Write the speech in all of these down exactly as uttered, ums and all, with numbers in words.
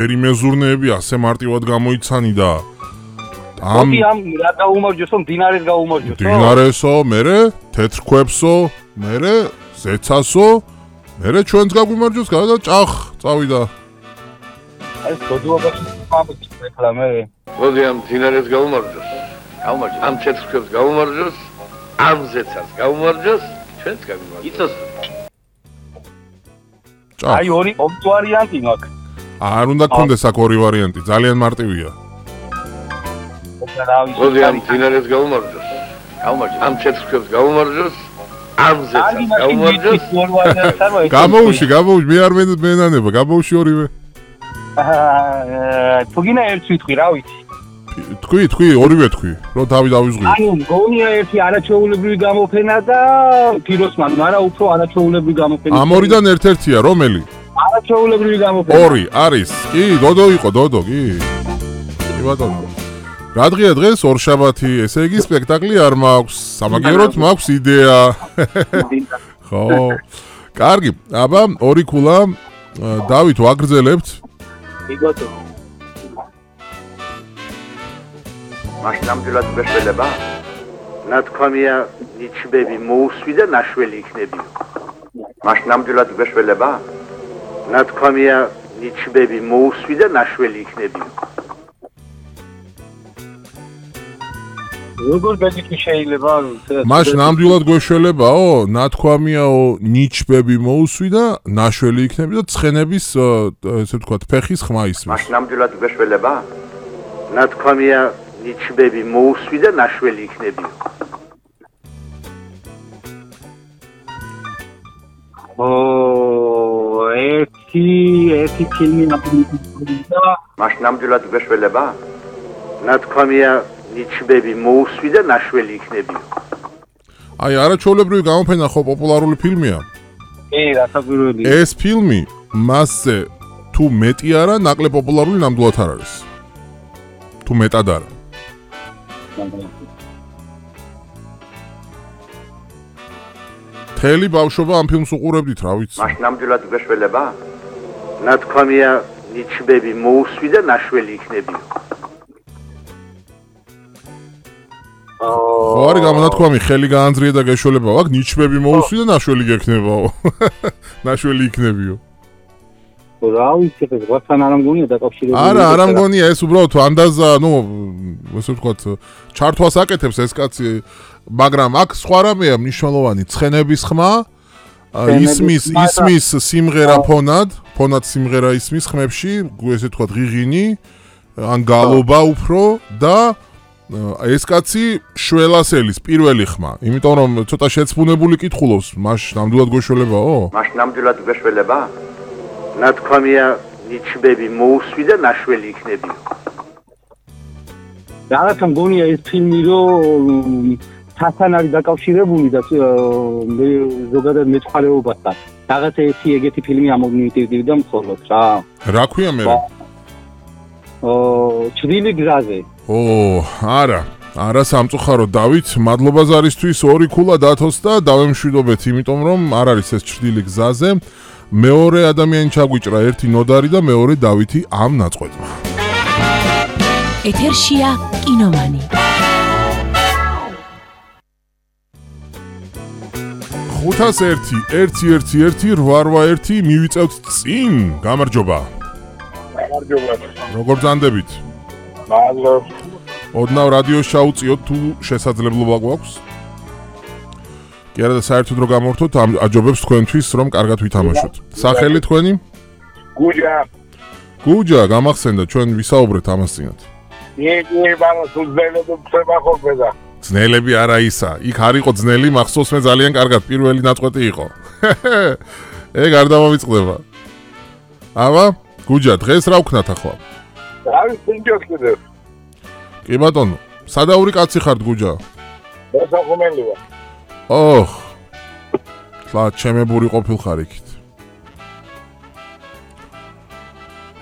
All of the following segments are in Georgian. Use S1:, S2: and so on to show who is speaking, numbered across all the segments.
S1: ერი მეზურნეები ასე მარტივად გამოიცანი და
S2: ამ ამ რა გაუმარჯოსო, მდინარეს გაუმარჯოსო.
S1: მდინარესო, მერე თეთრ ქვებსო, მერე ზეცასო, მერე ჩვენს გაგვიმარჯოს და ჭახ წავიდა.
S2: ეს გოდუობაში მომწიფე ხლა მე.
S3: მოდი ამ მდინარეს გაუმარჯოს. გაუმარჯოს. ამ თეთრ ქვებს გაუმარჯოს, ამ ზეცას გაუმარჯოს, ჩვენს გაგვიმარჯოს. იცოს.
S2: აი ორი ორი ვარიანტი მაქვს.
S1: არ უნდა გქონდეს აქ ორი ვარიანტი, ძალიან მარტივია.
S3: მოდი ამ მდინარეს გაუმარჯოს. გაუმარჯოს. ამ თეთრ ქვებს გაუმარჯოს, ამ ზეცას გაუმარჯოს.
S1: გამოუში, გამოუში, მე არ მენანება, გამოუში ორივე.
S2: აა, თუგინა ერთ ვიტყვი, რა ვიცი.
S1: თქვი, თქვი, ორივე თქვი, რომ თავი დავიზღვი.
S2: ანუ გონია ერთი არაჩვეულებრივი გამოფენა და ფიროსმან, მაგრამ უფრო არაჩვეულებრივი გამოფენა.
S1: ამ ორიდან ერთ-ერთია, რომელი?
S2: არაჩვეულებრივი გამოფენა.
S1: ორი, არის. კი, დოდო იყო, დოდო, კი. კი ბატონო. რა დღეა დღეს? ორშაბათი, ესე იგი სპექტაკლი არ მაქვს. სამაგიეროდ მაქვს იდეა. ხო. კარგი, აბა, ორი ქულა. დავით, ვაგრძელებთ.
S2: კი ბატონო.
S4: მაშინ ნამდვილად გვეშველება? ნათქვამია ნიჩბები მოუსვი და ნაშველი იქნებიო. მაშინ ნამდვილად გვეშველება? ნათქვამია ნიჩბები მოუსვი და ნაშველი იქნებიო.
S2: როგორ ბედიკი შეიძლება?
S1: მაშინ ნამდვილად გვეშველებაო, ნათქვამიაო ნიჩბები მოუსვი და ნაშველი იქნები და ცხენების ესე ვთქვათ, ფეხის ხმა ისმის.
S4: მაშინ ნამდვილად გვეშველება? ნათქვამია ნიჩბები მოუსვი და ნაშველი იქნებიო.
S2: ო, ერთი, ერთი ფილმი ნაპოლეონისა.
S4: მაშინ ნამდვილად გვეშველება? ნათქვამია ნიჩბები მოუსვი და ნაშველი იქნებიო.
S1: აი, არაჩვეულებრივი გამოფენა ხო პოპულარული ფილმია?
S2: კი, რასაკვირველია.
S1: ეს ფილმი მასზე თუ მეტი არა, ნაკლებ პოპულარული ნამდვილად არ არის. თუ მეტად არა. თელი ბავშვობა ამ ფილმს უყურებდით, რა ვიცი.
S4: მაშინ ნამდვილად გვეშველება? ნათქვამია ნიჩბები მოუსვი და ნაშველი იქნებიო.
S1: ხო არის გამონათქვამი, ხელი გაანძრია და გეშველებაო, აქ ნიჩბები მოუსვი და ნაშველი გექნებაო. ნაშველი იქნებიო.
S2: რა ვიცი, ეს ვართან არ ამგონია დაკავშირებული.
S1: არა, არ ამგონია, ეს უბრალოდ ანდაზა, ნუ, ესე ვთქვათ, ჩართვას აკეთებს ეს კაცი, მაგრამ აქ სხვა რამეა მნიშვნელოვანი, ცხენების ხმა, ისმის, ისმის სიმღერა ფონად, ფონად სიმღერა ისმის ხმებში, ესე ვთქვათ, ღიღინი, ან გალობა უფრო და ეს კაცი შველასელის პირველი ხმა, იმიტომ რომ ცოტა შეცვუნებული კითხულობს, მაშ ნამდვილად გვეშველებაო?
S4: მაშ ნამდვილად გვეშველება? ნათქვამია ნიჩბები მოუსვი და ნაშველი იქნებიო.
S2: რაღაცა მგონია ეს ფილმი რომ თასთან არის დაკავშირებული და ზოგადად მეცხვარეობასთან. რაღაცა ერთი ეგეთი ფილმი ამომიტივდა მხოლოდ რა.
S1: რა ქვია მე?
S2: ო, ჭრილი გზაზე.
S1: ო, არა. არა სამწუხაროდ დავით, მადლობა ზარისთვის ორი ქულა დათოს და დავემშვიდობეთ, იმიტომ რომ არ არის ეს ჭრილი გზაზე. მეორე ადამიანი ჩაგვიჭრა, ერთი ნოდარი და მეორე დავითი ამ ნაწყვეტმა.
S5: ეთერშია კინომანი.
S1: ხუთას ერთი, ერთი, ერთი, ერთი, რვა, რვა, ერთი, მივიწევთ წინ, გამარჯობა.
S6: გამარჯობა.
S1: როგორ ძანდებით?
S6: მადლობა.
S1: ოდნავ რადიოს ჩაუწიოთ თუ შესაძლებლობა გვაქვს? კი არა და საერთოდ რო გამორთოთ, აჯობებს თქვენთვის რომ კარგად ვითამაშოთ. სახელი თქვენი?
S6: გუჯა.
S1: გუჯა, გამახსენდა, ჩვენ ვისაუბრეთ ამას წინათ.
S6: იგი ბანა სულზელები ხება ხოლმე და.
S1: ძნელები არა ისა. იქ არ იყო ძნელი, მახსოვს მე ძალიან კარგად პირველი ნაწყვეტი იყო. ეგ არ დამოვიწყდება. აბა, გუჯა, დღეს რა ვქნათ ახლა?
S6: არის პინჯოს კიდევ.
S1: კი ბატონო, სადაური კაცი ხართ გუჯა?
S6: დასახუმელი ვარ.
S1: ოხ. ხლა ჩემებური ყოფილხარ იქით.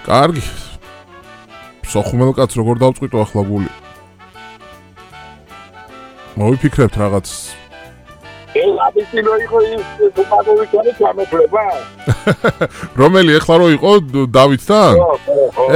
S1: კარგი. სოხუმელ კაც როგორ დავწყვიტო ახლა გული? მოვიფიქრებთ რაღაც
S6: ეს აბიცილო იყო ის თუმადოვიჩარის გამეფლება?
S1: რომელი ეხლა რო იყო დავითთან?